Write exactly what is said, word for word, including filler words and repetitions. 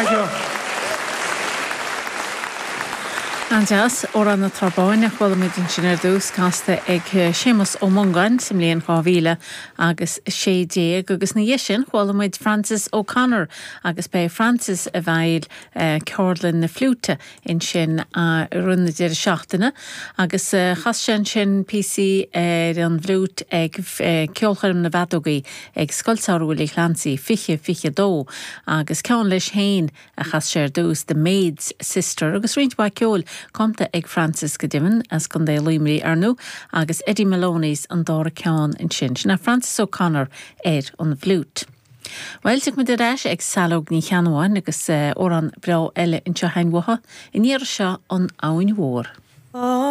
Thank you. An-deas Amhrán na Trá Báine a chuala muid ansin ar dtús casta ag Séamus Ó Mongáin sa mbliain dhá mhíle agus sé déag agus ina dhiaidh sin chuala muid Francis O'Connor agus b'é Francis a bhfuil ceardlann na fliúite ansin i rith na deireadh seachtaine agus chas sé ansin píosaí ar an bhfliúit ag ceolchoirm na bhfeadógaí ag Scoil Samhraidh Willie Clancy fiche fiche dó agus ceann leis féin a chas sé ar dtús The Maid's Sister agus roinnt mhaith ceoil cumtha ag Francis go deimhin as Contae Luimnigh ar ndóigh agus Eddie Maloney's an dara ceann ansin sin Francis O'Connor ar an bhfliúit. Well muid ar ais ag Saileog Ní Cheannabháin agus amhrán breá eile anseo uaithi an iarraidh seo an Abhainn Mhór. Oh.